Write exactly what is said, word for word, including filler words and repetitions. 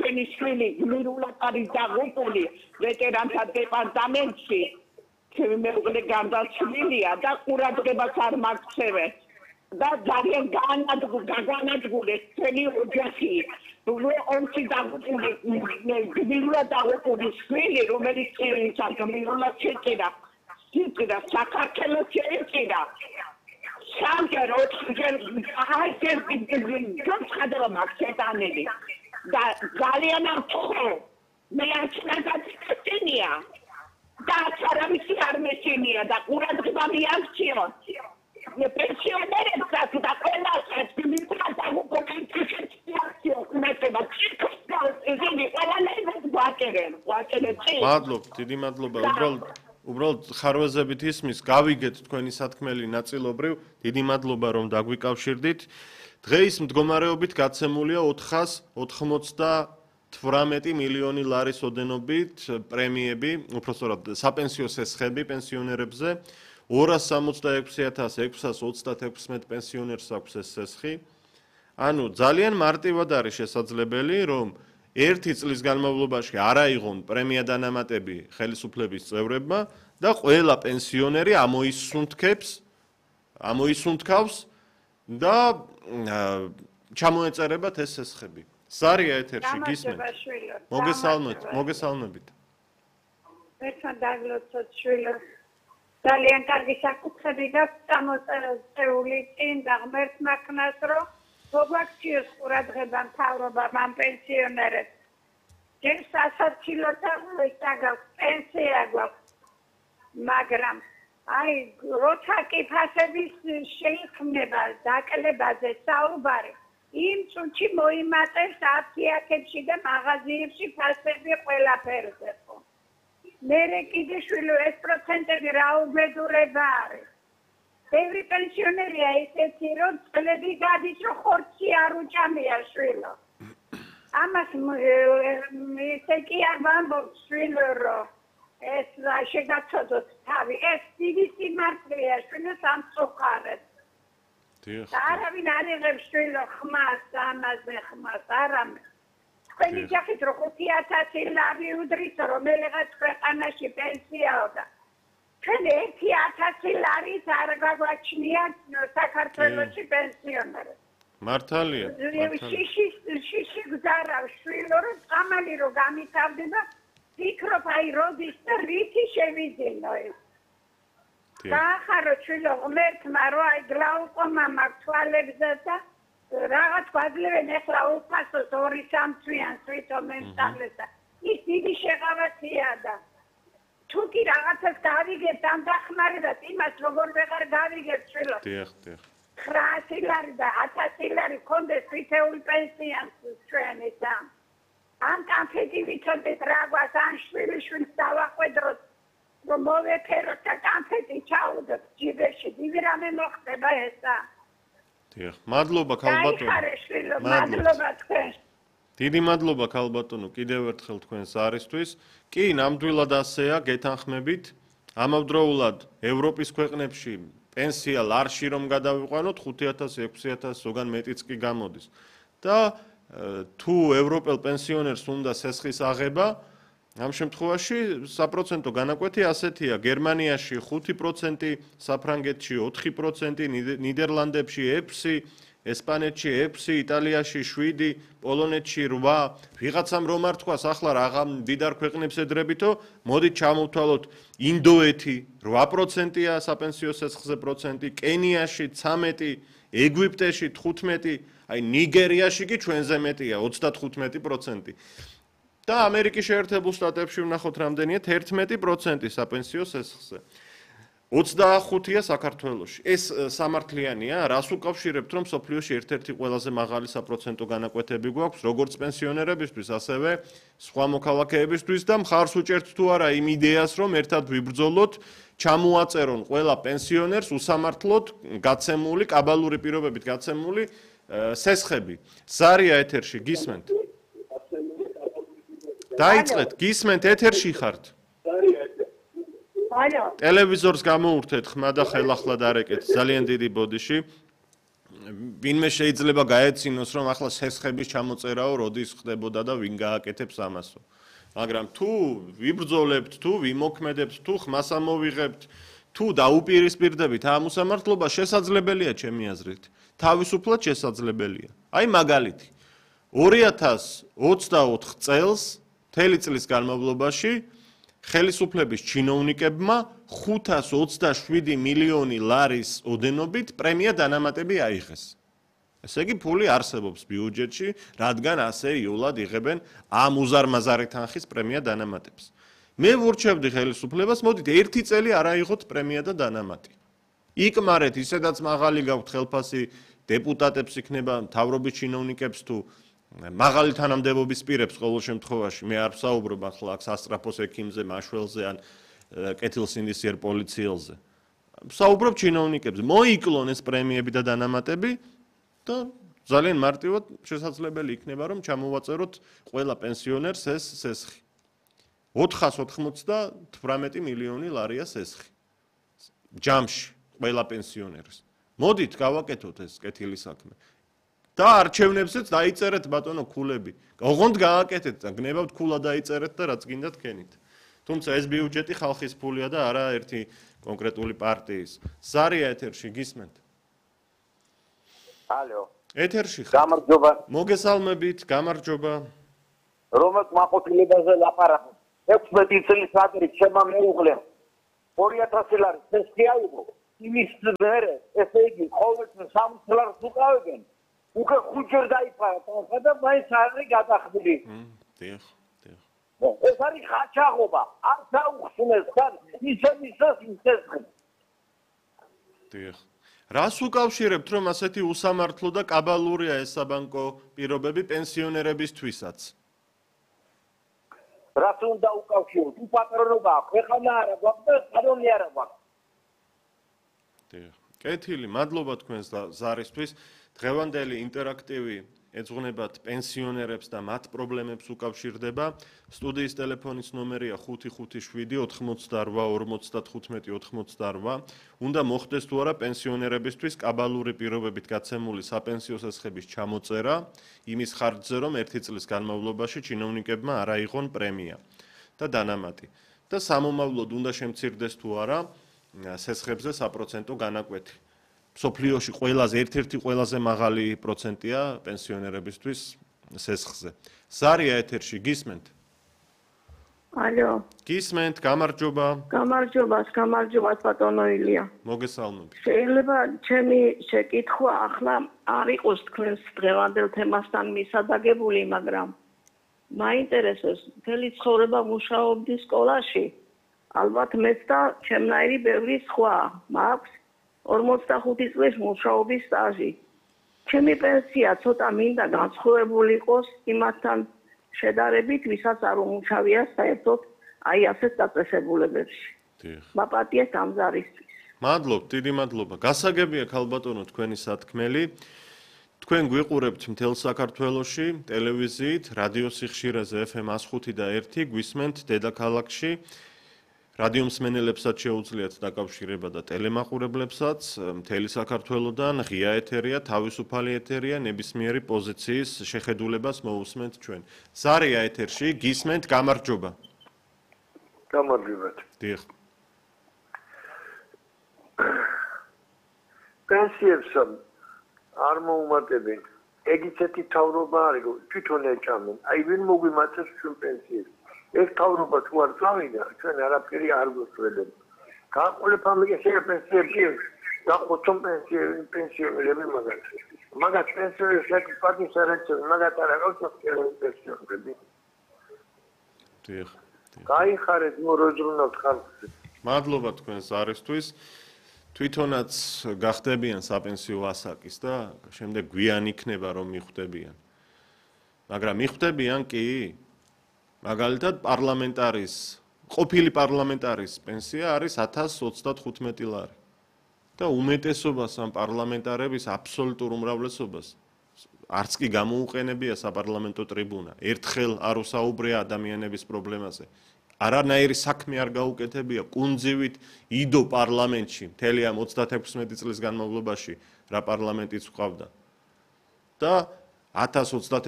ჩვენი შვილი გმირულად არის დაღუპული ვეტერანთა დეპარტამენტში. ჩემი მეუღლე გარდაცვლილია და ყურადღებას არ მაქცევენ. და ძალიან განადგურეს ჩვენი ოჯახი. ომში დაღუპული გმირულად დაღუპული შვილი, რომელიც გმირულად შეჭირა. შეჭირა საქართველოს შეჭირა. სამჯერ ოთხჯერ აიჯერ გონცხადება მაქვს შეტანილი და ძალიან ამხო მე აჩნაგაცინია და არავისი არ მეშინია და ყურადღება მიაქციონ პენსიონერებსაც და ყველასაც გმირულად დაღუპულებს მეტება ისინი ყველანაირად გვაჭერენ გვაჭერენ მადლობ დიდი მადლობა უბრალოდ უბრალოდ ხარვეზებით ისმის გავიგეთ თქვენი სათქმელი ნაწილობრივ დიდი მადლობა რომ დაგვიკავშირდით დღეის მდგომარეობით გაცემულია ოთხას ოთხმოცდათვრამეტი მილიონი ლარის ოდენობით პრემიები უпроსტად საპენსიო სესხები პენსიონერებზე ორას სამოცდაექვსი ათას ექვსას ოცდათექვსმეტ პენსიონერს აქვს ეს სესხი ანუ ძალიან მარტივად არის შესაძლებელი რომ ერთი წლის განმავლობაში არ აიღონ პრემია დანამატები ხელისუფლების წევრებმა და ყველა პენსიონერი ამოისუნთქებს ამოისუნთქავს და ჩამოეწერებათ ეს სესხები. სარია ეთერში გისმენთ. მოგესალმებით, მოგესალმებით. ერთმა დაგლოცოთ შვილო. ძალიან კარგი საკითხები გაქვს წამოწეული წინ და ღმერთმა ქნას რომ მოგვაქციოს ყურადღება მთავრობამ ამ პენსიონერებს. ჯერ სასაცილოთა გაქვს პენსია გვაქვს. მაგრამ აი როცა კი ფასების შეიქმნება დაკლებაზე საუბარი იმ წუთში მოიმატებს აფთიაქებში და მაღაზიებში ფასები ყველაფერზე ხო. მერე კიდე შვილო ეს პროცენტები რა უბედურება არის. ბევრი პენსიონერია ისეთი რომ წლები გადის რომ ხორცი არ უჭამია შვილო. ამას ისე კი არ ვამბობ შვილო რომ ეს შეგაცოდოთ თავი ეს დიდი სიმართლეა შვილო სამწუხაროდ. არავინ არ იღებს შვილო ხმას ამაზე ხმას არამე. თქვენი ჯახით რომ ხუთი ათასი ლარი უდრის რომელიღაც ქვეყანაში პენსიაო და ჩვენ ერთი ათასი ლარით არ გაგვაჩნია საქართველოში პენსიონერებს. მართალია. შიში შიში გზარავს შვილო რომ წამალი რომ გამითავდება ფიქრობ აი როდის და რითი შევიძინო ეს. გაახარო შვილო ღმერთმა რომ აი გლაუკომა მაქვს თვალებზე და რაღაც გვაძლევენ ახლა უფასოს ორი სამთვიანს ვითომ ემსწავლეს და ის დიდი შეღავათია და თუ კი რაღაცას გავიგებთ ამ დახმარებას იმას როგორ ვეღარ გავიგებთ შვილო. დიახ, დიახ. ცხრაასი ლარი და ათასი ლარი კონდეს თითოეულ პენსიას ჩვენი და ამ კანფეტი ვიცოდეთ რა გვას ან შვილი შვილს დავახვედროთ რომ მოვეფეროთ და კანფეტი ჩაუდოთ ჯიბეში დიდი რამე მოხდება ესა. დიახ, მადლობა ქალბატონო. მადლობა თქვენ. დიდი მადლობა ქალბატონო კიდევ ერთხელ თქვენს არისთვის. კი, ნამდვილად ასეა, გეთანხმებით. ამავდროულად ევროპის ქვეყნებში პენსია ლარში რომ გადავიყვანოთ ხუთი ათასი ექვსი ათასი ზოგან მეტიც კი გამოდის. და თუ ევროპელ პენსიონერს უნდა სესხის აღება, ამ შემთხვევაში საპროცენტო განაკვეთი ასეთია: გერმანიაში ხუთი პროცენტი, საფრანგეთში ოთხი პროცენტი, ნიდერლანდებში ექვსი, ესპანეთში ექვსი, იტალიაში შვიდი, პოლონეთში რვა. ვიღაცამ რომ არ თქვას, ახლა რაღა მდიდარ ქვეყნებს ედრებითო, მოდით ჩამოვთვალოთ ინდოეთი რვა პროცენტია საპენსიო სესხზე პროცენტი, კენიაში ცამეტი, ეგვიპტეში თხუთმეტი, აი ნიგერიაში კი ჩვენზე მეტია ოცდათხუთმეტი პროცენტი. და ამერიკის შეერთებულ შტატებში ვნახოთ რამდენია თერთმეტი პროცენტი საპენსიო სესხზე. ოცდახუთია საქართველოში. ეს სამართლიანია, რას უკავშირებთ, რომ სოფლიოში ერთ-ერთი ყველაზე მაღალი საპროცენტო განაკვეთები გვაქვს, როგორც პენსიონერებისთვის, ასევე სხვა მოქალაქეებისთვის და მხარს უჭერთ თუ არა იმ იდეას, რომ ერთად ვიბრძოლოთ, ჩამოაწერონ ყველა პენსიონერს უსამართლოდ გაცემული, კაბალური პირობებით გაცემული სესხები. ზარია ეთერში, გისმენთ? დაიწყეთ, გისმენთ, ეთერში ხართ? ტელევიზორს გამოურთეთ ხმა და ხელახლა დარეკეთ ძალიან დიდი ბოდიში. ვინმე შეიძლება გაეცინოს, რომ ახლა სესხების ჩამოწერაო როდის ხდებოდა და ვინ გააკეთებს ამასო. მაგრამ თუ ვიბრძოლებთ, თუ ვიმოქმედებთ, თუ ხმას ამოვიღებთ, თუ დაუპირისპირდებით ამ უსამართლობას, შესაძლებელია ჩემი აზრით. თავისუფლად შესაძლებელია. აი მაგალითი. ორი ათას ოცდაოთხ წელს, მთელი წლის განმავლობაში ხელისუფლების ჩინოვნიკებმა ხუთას ოცდაშვიდი მილიონი ლარის ოდენობით პრემია დანამატები აიღეს. ესე იგი ფული არსებობს ბიუჯეტში, რადგან ასე იულად იღებენ ამ უზარმაზარი თანხის პრემია დანამატებს. მე ვურჩევდი ხელისუფლებას, მოდით ერთი წელი არ აიღოთ პრემია და დანამატი. იკმარეთ ისედაც მაღალი გაქვთ ხელფასი დეპუტატებს იქნება მთავრობის ჩინოვნიკებს თუ მაღალი თანამდებობის პირებს ყოველ შემთხვევაში მე არ ვსაუბრობ ახლა აქ სასტრაფოს ექიმზე, მაშველზე ან კეთილსინდისიერ პოლიციელზე. ვსაუბრობ ჩინოვნიკებზე. მოიკლონ ეს პრემიები და დანამატები და ძალიან მარტივად შესაძლებელი იქნება რომ ჩამოვაწეროთ ყველა პენსიონერს ეს სესხი. ოთხას ოთხმოცდათვრამეტი მილიონი ლარია სესხი. ჯამში ყველა პენსიონერს. მოდით გავაკეთოთ ეს კეთილი საქმე. და არჩევნებზეც დაიწერეთ ბატონო ქულები. ოღონდ გააკეთეთ და გნებავთ ქულა დაიწერეთ და რაც გინდათ კენით. თუმცა ეს ბიუჯეტი ხალხის ფულია და არა ერთი კონკრეტული პარტიის. ზარია ეთერში გისმენთ? ალო. ეთერში ხარ? გამარჯობა. მოგესალმებით, გამარჯობა. რომელ მაყურებელზე ლაპარაკობ. ექვსმეტი წლის ადრე ჩემმა მეუღლე ორი ათასი ლარი სესხი აიღო. იმის მერე ესე იგი ყოველთვის სამოცი ლარს უყავებენ. უკვე ხუთჯერ დაიფარა თანხა და მაინც არ არის გადახდილი. დიახ, დიახ. ეს არის ხაჩაღობა. არ დაუხსნეს თან ისე ისე სესხი. დიახ. რას უკავშირებთ რომ ასეთი უსამართლო და კაბალურია ეს საბანკო პირობები პენსიონერებისთვისაც? რას უნდა უკავშიროთ? უპატრონობა აქვს, ეხლა არა გვაქვს და კანონი არა გვაქვს. დიახ. კეთილი, მადლობა თქვენს ზარისთვის. დღევანდელი ინტერაქტივი ეძღვნებათ პენსიონერებს და მათ პრობლემებს უკავშირდება. სტუდიის ტელეფონის ნომერია ხუთი ხუთი შვიდი ოთხმოცდარვა ორმოცდათხუთმეტი ოთხმოცდარვა. უნდა მოხდეს თუ არა პენსიონერებისთვის კაბალური პირობებით გაცემული საპენსიო სესხების ჩამოწერა, იმის ხარჯზე რომ ერთი წლის განმავლობაში ჩინოვნიკებმა არ აიღონ პრემია და დანამატი. და სამომავლოდ უნდა შემცირდეს თუ არა სესხებზე საპროცენტო განაკვეთი. სოფლიოში ყველაზე ერთ-ერთი ყველაზე მაღალი პროცენტია პენსიონერებისთვის სესხზე. ზარია ეთერში გისმენთ? ალო. გისმენთ, გამარჯობა. გამარჯობას, გამარჯობას ბატონო ილია. მოგესალმებით. შეიძლება ჩემი შეკითხვა ახლა არ იყოს თქვენს დღევანდელ თემასთან მისადაგებული, მაგრამ მაინტერესებს მთელი ცხოვრება მუშაობდი სკოლაში. ალბათ მეც და ჩემნაირი ბევრი სხვა მაქვს ორმოცდახუთი წლის მუშაობის სტაჟი. ჩემი პენსია ცოტა მინდა განსხვავებული იყოს იმასთან შედარებით, ვისაც არ უმუშავია საერთოდ აი ასეთ დაწესებულებებში. დიახ. მაპატიეთ ამ ზარისთვის. მადლობ, დიდი მადლობა. გასაგებია ქალბატონო თქვენი სათქმელი. თქვენ გვიყურებთ მთელ საქართველოში, ტელევიზიით, რადიო სიხშირეზე ეფ ემ εκατს ხუთი და ერთი, გვისმენთ დედაქალაქში. რადიო მსმენელებსაც შეუძლიათ დაკავშირება და ტელემაყურებლებსაც მთელი საქართველოდან ღია ეთერია, თავისუფალი ეთერია, ნებისმიერი პოზიციის შეხედულებას მოусმენთ ჩვენ. ზარია ეთერში, გისმენთ, გამარჯობა. გამარჯობა. დიახ. პენსიებს არ მოუმატებენ. ეგიცეთი თავრობა არის, თვითონ ეჭამენ. აი ვინ მოგვიმატებს ჩვენ პენსიებს? ეს თავრობა თუ არ წავიდა, ჩვენ არაფერი არ გვესწრებთ. გაყოლება მიგეშე პენსიებში, დახოცონ პენსიები, პენსიონერები მაგათ. მაგათ პენსიონერებს საკუთარი სარაცხო, მაგათ არ აქვს პენსიონერები. დიახ. გაიხარეთ მოროძრუნავთ ხალხს. მადლობა თქვენს არისთვის. თვითონაც გახდებიან საპენსიო ასაკის და შემდეგ გვიან იქნება რომ მიხვდებიან. მაგრამ მიხვდებიან კი? მაგალითად პარლამენტარის, ყოფილი პარლამენტარის პენსია არის ათას ოცდათხუთმეტი ლარი. და უმეტესობას ამ პარლამენტარების აბსოლუტურ უმრავლესობას არც კი გამოუყენებია საპარლამენტო ტრიბუნა. ერთხელ არ უსაუბრია ადამიანების პრობლემაზე. არანაირი საქმე არ გაუკეთებია, კუნძივით იდო პარლამენტში მთელი ამ ოცდათექვსმეტი წლის განმავლობაში რა პარლამენტიც გვყავდა. და ათას ოცდაათი